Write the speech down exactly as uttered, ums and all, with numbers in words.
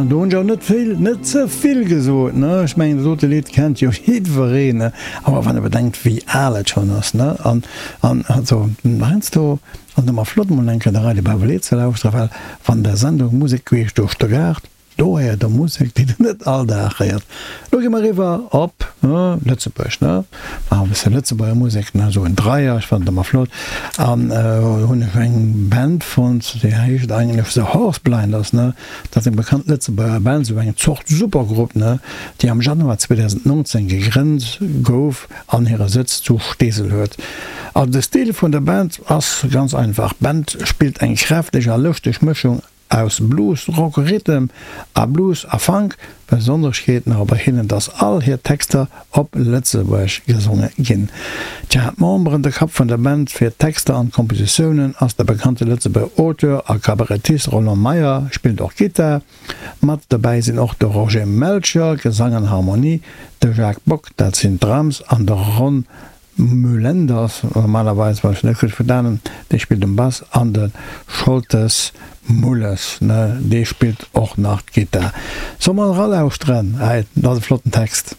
An do hunn ech och net vill, net ze vill gesot, ne? Ech mengen, dat dote Lidd kennt jo jiddwereen, ne? Awer wann e bedenkt, wéi al et schonn ass, ne? An, an also heiansdo ass et ëmmer flott, mol eng Kéier de Radio Bavelé ze lauschteren, well wann der Sendung Musek queesch duerch de Gaart, Do héiert der Musek, déi der net all Dag héiert. Lo gi mer eriwwer op Lëtzebuerg, ne? Maache e bësse Lëtzebuerger Musek, ne? Esou en Dreier, ech fannen et ëmmer flott. An do hunn ech eng Band fonnt, déi heescht eigentlech The Horse Blinders, ne? Dat ass eng bekannt Lëtzebuerger Band, esou eng Zort Supergrupp, ne? Déi am Januar zweedausendnonzéng gegrënnt gouf an hire Sëtz zu Steesel huet. Also de Stil vun der Band ass ganz einfach, d'Band spillt eng kräfteg a lëschteg Mëschung Aus Blues, Rock, Rhythm a Blues a Funk. Besonneschkeet nach bei hinnen, dass all hir Texter op Lëtzebuergesch gesonge ginn. Tja, d'Memberen, de Kapp vun der Band fir d'Texter an d'Kompositiounen ass de bekannte Lëtzebuerger Auteur a Kabarettist Roland Meyer, spillt och Gittar. Mat dobäi sinn och de Roger Melcher, Gesang an Harmonie, de Jacques Bock, dat sinn d'Drums, an de Ron Mullenders, normalerweis, wann ech net gutt verstanen, dee spillt um Bass, an de Scholtes Mulles, ne, dee spillt och nach d'Gittar. Solle mer eralauschteren? Hei, dat ass e flotten Text.